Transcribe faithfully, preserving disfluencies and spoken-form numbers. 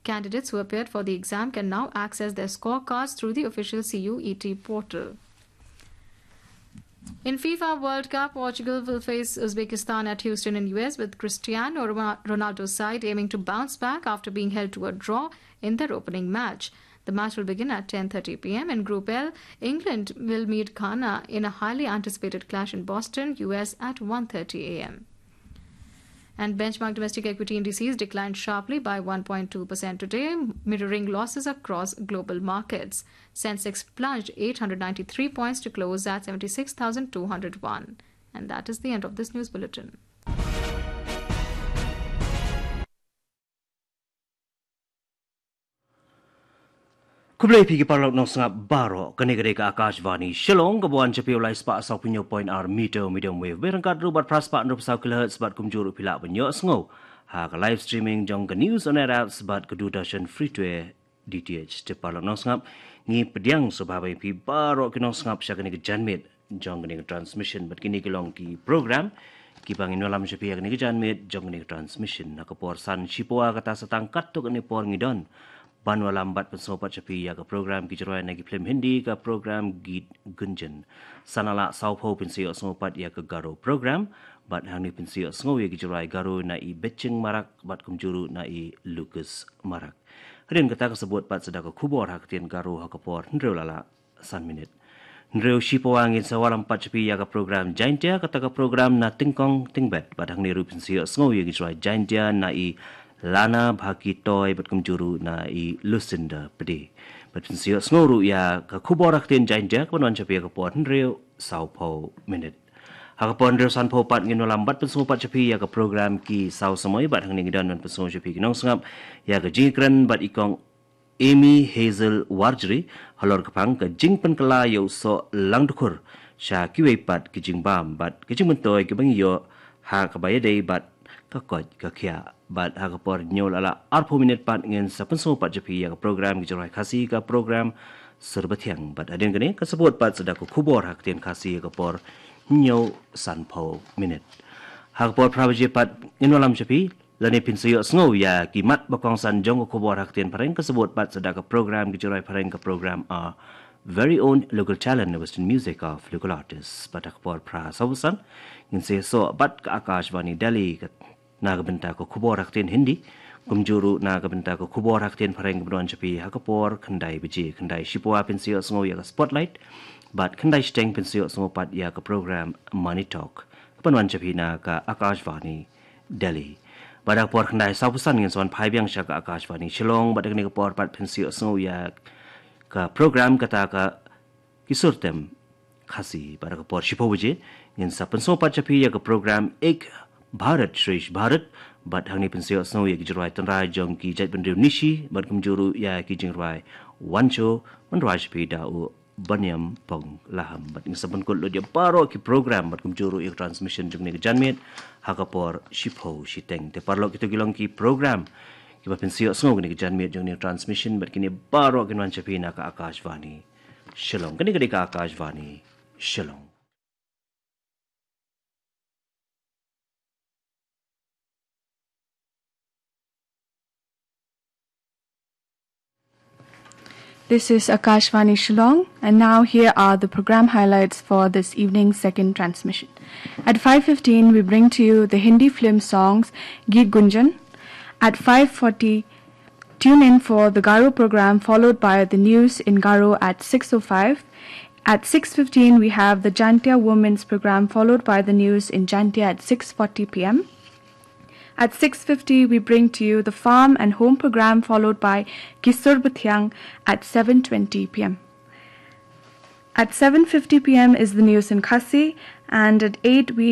Candidates who appeared for the exam can now access their scorecards through the official C U E T portal. In FIFA World Cup, Portugal will face Uzbekistan at Houston in U S, with Cristiano Ronaldo's side aiming to bounce back after being held to a draw in their opening match. The match will begin at ten thirty p m. In Group L, England will meet Ghana in a highly anticipated clash in Boston, U S, at one thirty a m. And benchmark domestic equity indices declined sharply by one point two percent today, mirroring losses across global markets. Sensex plunged eight hundred ninety-three points to close at seventy-six thousand two hundred one. And that is the end of this news bulletin. Khublei phi ki paralok nongsngap baroh, kane ka dei ka Akashvani Shillong, kaba wan sha phi ha u lai spah saw phew point ar meter medium wave, bad ryngkat ruh bad phra spah hynriew phew saw kilohertz, bad kumjuh ruh phi lah ban ïohsngew ha ka live streaming jong ka News on Air apps bad ka Doordarshan Free to Air D T H. Te paralok nongsngap, ngi pdiang sngewbha ba ïa phi baroh ki nongsngap sha kane ka janmiet jong kane ka transmission, bad kine ki long ki program kiba ngin wallam sha phi ha kane ka janmiet jong kane ka transmission. Ha ka por san shipawa kata sa tang katto katne por ngi don ban wallam bad pynsngew pat sha phi ïa ka program Ki Jingrwai na ki Film Hindi, ka program Geet Gunjan. San la saw phew phin sa ïohsngew pat ïa ka Garo program, bad hangne phin sa ïohsngew ïa ki jingrwai Garo na i Beching Marak bad kumjuh ruh na i Lucas Marak. Hadien kata ka sa bud pat sa da ka khubor ha ka ktien Garo ha ka por hynriew la lah san minit. Hynriew shipawa ngin sa wallam pat sha phi ïa ka program Jaintia, kata ka program Na Tyngkong Tyngbet, bad hangne ruh phin sa ïohsngew ïa ki jingrwai Jaintia na i Lana Bhaki Toi bad kumjuh ruh na i Lucinda Pde. Bad phin sa ïohsngew ruh ïa ka khubor ha ka ktien Jaintia kaban wan sha phi ha ka por hynriew saw phew minit. Ha ka por hynriew san phew pat ngin wallam bad pynsngew pat sha phi ïa ka program Ki Saw Samoi, bad hangne ngi don ban pynsngew sha phi ki nongsngap ïa ka jingïakren bad i Kong Amy Hazel Warjri halor ka phang ka jingpynkylla ïa u soh langdkhur sha kiwei pat ki jingbam bad ki jingmyntoi kiba ngi ïoh ha kaba ïadei bad ka koit ka khiah. Bad ha ka por hynñiew la lah arphew minit pat ngin sa pynsngew pat sha phi ïa ka program Ki Jingrwai Khasi, ka program Sur Bathiang, bad hadien kane ka sa bud pat sa da ka khubor ha ka ktien Khasi ha ka por hynñiew san phew minit. Ha ka por phra baje pat ngin wallam sha phi lane phin sa ïohsngew ïa ki mat ba kongsan jong ka khubor ha ka ktien Phareng, ka sa bud pat sa da ka program Ki Jingrwai Phareng, ka program Our Very Own Local Talent, Western Music of Local Artists. Bad ha ka por phra saw phew san ngin sa ïasoh bad ka Akashvani Delhi ka, na ka bynta ka khubor ha ka ktien Hindi, kumjuh ruh na ka bynta ka khubor ha ka ktien Phareng kaban wan sha phi ha ka por khyndai baje. Khyndai shipawa phin sa ïohsngew ïa ka Spotlight, bad khyndai shiteng phin sa ïohsngew pat ïa ka program Money Talk kaban wan sha phi na ka Akashvani Delhi. Bad ha ka por khyndai saw phew san ngin sa wan phai biang sha ka Akashvani Shillong, bad ha kane ka por pat phin sa ïohsngew ïa ka program kata ka Ki Sur Tem Khasi. Bad ha ka por shiphew baje ngin sa pynsngew pat sha phi ïa ka program Ek Bharat Shresth Bharat, bad hangne phin sa ïohsngew ïa ki jingrwai tynrai jong ki jaitbynriew Nyishi bad kumjuh ruh ïa ki jingrwai Wancho, ban rwai sha phi da u Baniam Pong Laham. Bad ngin sa pynkut lut ïa baroh ki program bad kumjuh ruh ïa ka transmission jong kane ka janmiet ha ka por shiphew shiteng. Te paralok, kito ki long ki program kiba phin sa ïohsngew kane ka janmiet jong kane ka transmission, bad kine baroh kin wan sha phi na ka Akashvani Shillong. Kane ka dei ka Akashvani Shillong. This is Akashvani Shillong, and now here are the program highlights for this evening's second transmission. At five fifteen, we bring to you the Hindi film songs Geet Gunjan. At five forty, tune in for the Garo program, followed by the news in Garo at six oh five. At six fifteen, we have the Jaintia Women's program, followed by the news in Jaintia at six forty p m. At six fifty, we bring to you the Farm and Home program, followed by Ki Sur Bathiang at seven twenty p m. At seven fifty p m is the news in Khasi, and at eight we